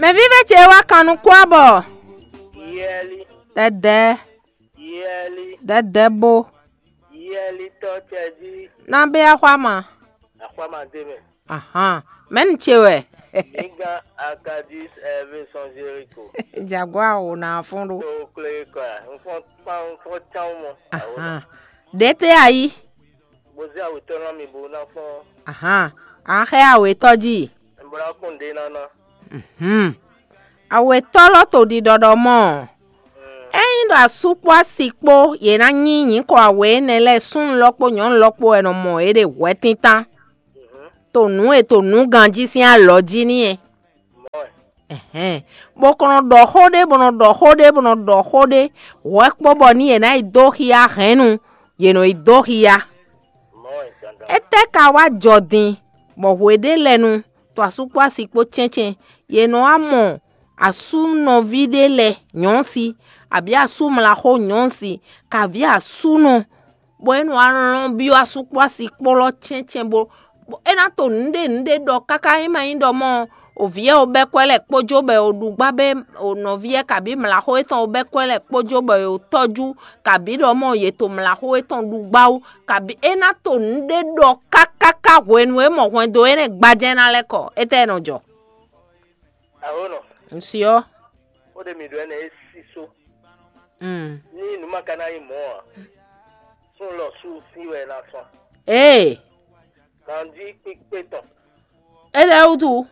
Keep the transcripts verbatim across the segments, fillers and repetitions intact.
Mɛvívɛ́ ce wá kan nukún abɔ. Yɛli, Dɛdɛ, yɛli, dɛdɛ bo. Yɛlitɔ́ cɛjí. Ná bɛ axwá ma. Axwá ma dé mɛ. Ahan. Mɛni ce wɛ? Mǐ gán Akadis ɛvɛ sɔn Jeriko. Jaguar wò ná fún ɖó. Tó klé kɔ. Nfɔ́n kpán nfɔ́n tán mɔ. Ahan. Ɖě tɛ ayi. Bó zé awětɔ́ ná mi bó ná fɔ́n. Ahan. An xɛ awětɔ́ jí. Bó ná kún ɖé ná ná. Mhm. Awětɔ́ lɔ to ɖiɖɔɖɔ mɔ. Ényí ɖo asú kpó asi kpó yě ná nyí nyǐkɔ awě énɛ́ lɛ́ɛ súnnu lɔ kpó nyɔ̌nu lɔ kpó wɛ nɔ mɔ yě ɖe hwɛtíntan, to nǔ e to nǔ ganjí sín alɔ jí n'i é. Ɛhɛn. Bó kɔn nɔ ɖɔ xó ɖé, bó nɔ ɖɔ xó ɖé, bó nɔ ɖɔ xó ɖé, hwɛ kpó bɔ ní yě ná yi dó xyá hɛ̌nnu, yě nɔ yi dó xyá. Étɛ́ ka wá jɔ din, bɔ hweɖélɛ́nu, to asú kpó asi kpó cɛ́ncɛ́n, yě nɔ wá mɔ asú nɔví ɖé lɛ́ɛ nyɔ̌si, abǐ asú mlaxó nyɔ̌si, kaví asúnɔ, bɔ é nɔ wá lɔn byɔ́ asú kpó asi kpó lɔ cɛ́ncɛ́n bó, bó é ná to nǔɖé nǔɖé ɖɔ káká é ma nyí ɖɔ mɔ o vǐ ɔ́ o bɛ́ kwɛ́ lɛ́ɛ kpó jó bɔ o ɖu gbá bɔ o nɔví ɔ́ kabǐ mlaxó étɔn o bɛ́ kwɛ́ lɛ́ɛ kpó jó bɔ o tɔ́jú, kabǐ ɖɔ mɔ yě to mlaxó étɔn ɖu gbá wú, kabǐ é ná to nǔɖé ɖɔ kákáká hwenu e mɔ hwɛndo énɛ́ gbajɛ ná lɛ́ kɔ. Étɛ́ nɔ jɔ? Aho nɔ. Nsyɔ. Ó ɖe mi ɖɔ ɛnɛ é sísó. Mm. Ní nǔ ma ka ná nyí mɔ̌ ǎ, sún lɔ sú sí wɛ ná sɔn. Ee. Ganjí kpíkpé tɔn. É lɛ́ wútu.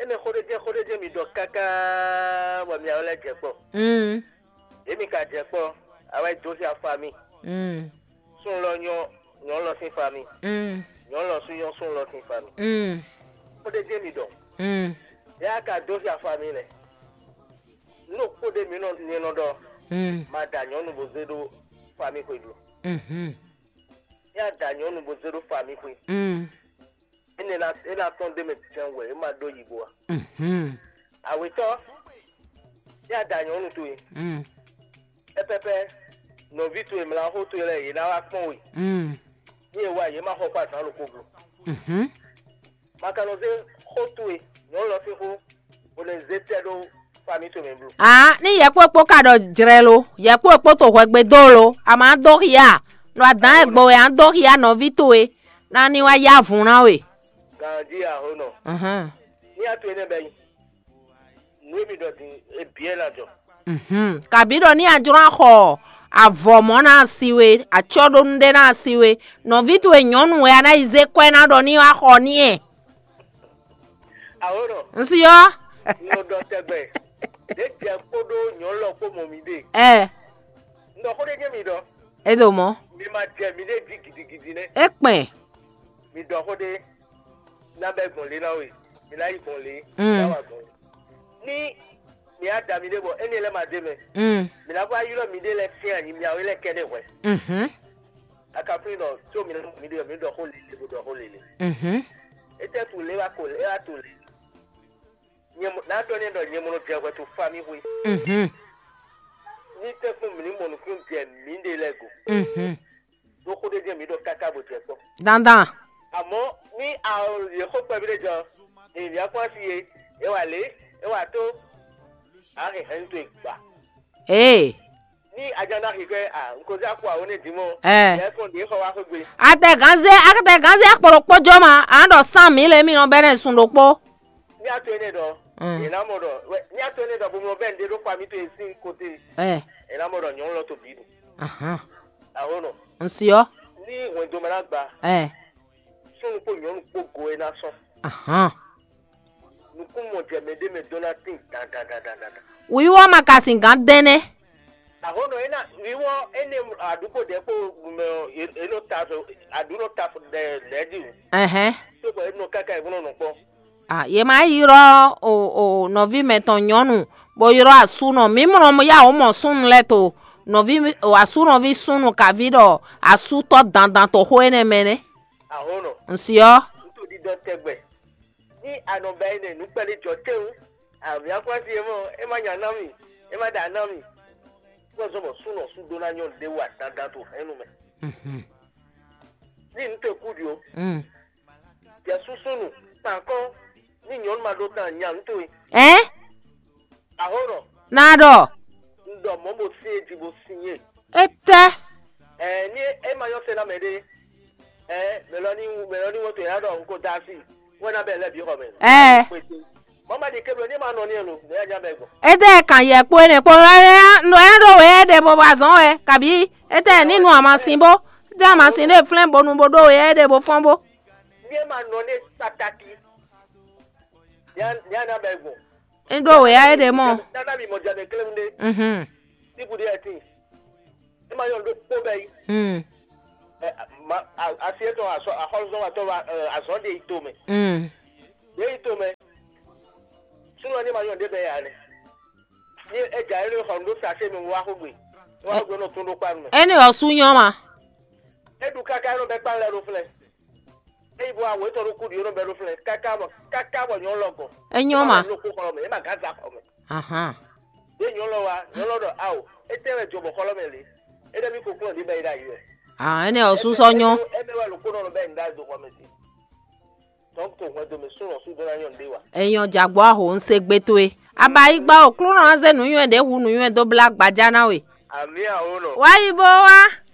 Énɛ́ xó ɖé jɛ́n xó ɖé jɛ́n mi ɖɔ káká bɔ mi awɛ lɛ́ jɛ kpɔ. Mm. Yě mi ka jɛ kpɔ, awɛ dó xia fa mi. Mm. Sún lɔ nyɔ nyɔ lɔ sín fa mi. Mm. Nyɔ lɔ sú nyɔ sún lɔ sín fa mi. Mm. Xó ɖé jɛ́n mi ɖɔ. Mm. Yá ka dó xia fa mi lɛ. Nú kpó ɖé mi nɔ nyɛ nɔ ɖɔ. Mm. Ma da nyɔ̌nu bó zé ɖó fa mi xwedó. Mhm. Yá da nyɔ̌nu bó zé ɖó fa mi xwe. Mm. Énɛ́ ná é ná tɔ́n ɖ'é mɛ jɛ́n wɛ é ma ɖó yi bo a? Mhm. Awětɔ́, yá da nyɔ̌nu towe. Mm. Pɛpɛpɛ, nɔví towe mlaxó towe lɛ́ɛ yě ná wá kpɔ́n we. Mm. Ní e wá yě ma xɔ kpó azǎn ɖokpó glo. Mhm. Ma ka nɔ zé xó towe nyɔ̌nu lɔ sín xó, bó nɔ zé tɛ́ ɖó fami towe mɛ blo. Aa, ní yɛkpó e kpó ka ɖɔ jlɛ lo, yɛkpó e kpó to hwɛgbe dó lo, a ma dó xia, nɔ adǎn e gbo wɛ a dó xia nɔví towe, ná ní wá yá vun ná we. Ganjí aho nɔ. Ahán. Ní a to énɛ́ bɛ́ nyi. Nǔ e mi ɖɔ din é bǐ wɛ ná jɔ. Mhm. Kabǐ ɖɔ ní a jló ná xɔ avɔ mɔ̌ ná asi we, acɔ́ɖónú ɖé ná asi we, nɔví towe nyɔ̌nu wɛ a ná yi zé kwɛ́ ná ɖɔ ní wá xɔ n'i ɛ. Aho nɔ. Un si ɔ́. Nɔ ɖɔ tɛgbɛ. Ɖě jɛ kpódó nyɔ̌nu lɔ kpó mɔ mi ɖe. Ɛ. Un ɖɔ xó ɖé jɛ mi ɖɔ. É ɖo mɔ̌. Mi ma jɛ mi ɖé jí gidigidi nɛ́. É kpɛn. Mi ɖɔ xó ɖé. Ná bɛ gbɔn lě ná we. Mi ná yi gbɔn lě. Mm. Ná wa gbɔn lě. Ní mi á da mi ɖé bɔ énɛ́ lɛ́ɛ ma ɖ'é mɛ. Mm. Mi ná vɔ ylɔ́ mi ɖé lɛ́ɛ sín anyi, mi awé lɛ́ɛ kɛ ɖé hwɛ. Mhm. Akaplínɔ, tó mi ná mi ɖé mi ɖɔ xó lele bó ɖɔ xó lele. Mhm. Étɛ́ tu lě wá ko lě wá to lě. Nyɛ mo ná ɖɔ nɛ ɖɔ nyɛ mo nɔ jɛ hwɛ to fa mi hwe. Mhm. Ní tɛ́ kpɔ́n mi ní mɔ nukún jɛ mi ɖe lɛ́ɛ go. Mhm. Ɖó xó ɖé jɛ mi ɖɔ káká bó jɛ kpɔ́. Dandan. Àmọ́ ní a yě xó kpɛví ɖé jɔ, èyí á kpɔ́n asi e, é wà lě, é wà tó, á hɛn hɛn tó e gbà. Ee. Ní ajá ná xixɛ a, n ko zé akɔ àwọn ní dìímọ̀. Ɛ. Yẹ kàn dé xɔ wá xó gbé. Atɛgánzé, atɛgánzé akpɔlɔ kpɔjɔ ma, a ɖɔ sán mi le mi nɔ bɛ ne sun ɖokpó. Ní a to énɛ́ ɖɔ, Mm. È ná mɔ ɖɔ, wɛ, ní a to énɛ́ ɖɔ bó mlɔ bɛ n ɖe ɖó xɔ mi to e sín kote. Ɛ. È ná mɔ ɖɔ nyɔ̌nu lɔ to bǐ ɖu. Ahán. Aho nɔ. N si ɔ́. Ní hwɛndo mɛ ná gba. Ɛ. Súnnu kpó nyɔ̌nu kpó go e ná sɔn. Ahán. Nukúnmɔ jɛ mɛ ɖé mɛ dó ná tín dandandandandan. Wǐwá ma ka sin gǎn dɛn nɛ́. Aho nɔ é ná wíwɔ énɛ́ aɖúgbò ɖɛ̌ kpó mɛ ɔ, è nɔ ta aɖǔ nɔ ta lɛ̌ ɖi o. Ɛhɛn. Tó bɔ é nɔ káká è nɔ nɔ kpɔ́. Ah, yě ma ylɔ́ o o nɔví mɛtɔn nyɔ̌nu, bó ylɔ́ asúnɔ. Mǐ mlɔ yá wǒ mɔ súnnu lɛ́ɛ to nɔví o asúnɔví súnnu kaví ɖɔ asútɔ́ dandan to xó énɛ́ mɛ nɛ́. Ahonɔ. Un si ɔ́. Un to ɖiɖɔ tɛgbɛ. Ní a nɔ ba énɛ́ nǔ kpɛɖé jɔ tɛ́wú, àmì akwási e mɔ, é má nya ná mì, é má ɖa ná mì. Kpɔ́ zɔ́n bɔ súnɔ sú dó ná nyɔ́ ɖé wa dandan to hɛ̌nnu mɛ. Mhm. Ní nǔ te kú ɖi o. Mm. Jɛ súsúnu, kpankɔ́n, Nyɔnu ma ɖó tán nya nú towe. Ɛn? Ahónɔ, Na ɖɔ. Un ɖɔ mɔ̌ bo sin e jí bo sin e. Etɛ. Ɛɛ, ní é ma nyɔ́ se ná mɛ ɖé. Ɛɛ, mɛ lɔ ní mɛ lɔ ní wọ́n to yá ɖɔ un ko da asi. Wọ́n ná bɛ lɛ bí xɔ mɛ. Ɛɛ. Mɔ̌ ma ɖi kéblo ní ma nɔ ní ɛnu, ní ɛnya bɛ gbɔn. Etɛ kan yɛ kpo ne kpo nɔ ɛ ɖo wɛ ɖe bo ba zɔn wɛ kabi etɛ ní nu amasin bó. Etɛ amasin ɖe flɛn bonu bo ɖo wɛ ɖe bo fɔn bó. Ní é ma nɔ ní pataki. Ní a ní a ná bɛ gbɔn. Ŋɖo wěyá é ɖe mɔ. Nana mi mɔ jɛ ɖe klem ɖe. Mhm. Tibu ɖe ɛtin. Ema yɔ ɖo kpó bɛ yi. Mm. Ɛ, ma a- asi etɔn asɔ axɔlɔzɔn wa tɔ wa ɛ, azɔn ɖe yi to mɛ. Mm. Ɖe yi to mɛ. Sunɔ ne ma yɔ ɖe bɛ ya ne. Ni e dza yɛ ɖe xɔ ɖo sase mi wa xo gbe. Wa xo gbe nɔ tun ɖo kpa mɛ. Ene ɔsu nyɔ ma. Eɖu kaka nɔ bɛ kpa lɛ ɖo flɛ. Eyi bɔ awo etɔn ɖo kuɖi nɔ bɛ ɖo flɛ. Kaka bɔ kaka bɔ nyɔ lɔ gɔn. Enyɔ ma. Lo ko xɔ mɛ, e ma gaza xɔ mɛ. Ahan. Ye nyɔlɔ wa, nyɔlɔ ɖɔ ao, etɛ wɛ jɔ bɔ xɔlɔ mɛ le. Ede mi koklo ɖi bɛ yi ɖe ayi wɛ. Ah, ene ɔsu sɔ nyɔ. Eme wɛ lo ko nɔ bɛ yi ɖe do xɔ mɛ si. Donc to hwɛ do me sun lɔ su do na nyɔ nde wa. Enyɔ jagbɔ aho ŋse gbe towe. Aba yi gba o klúnɔ na ze nuyɔn ɖe hu nuyɔn do bla gbaja na we. Ami awo nɔ. Wa yi bo wa.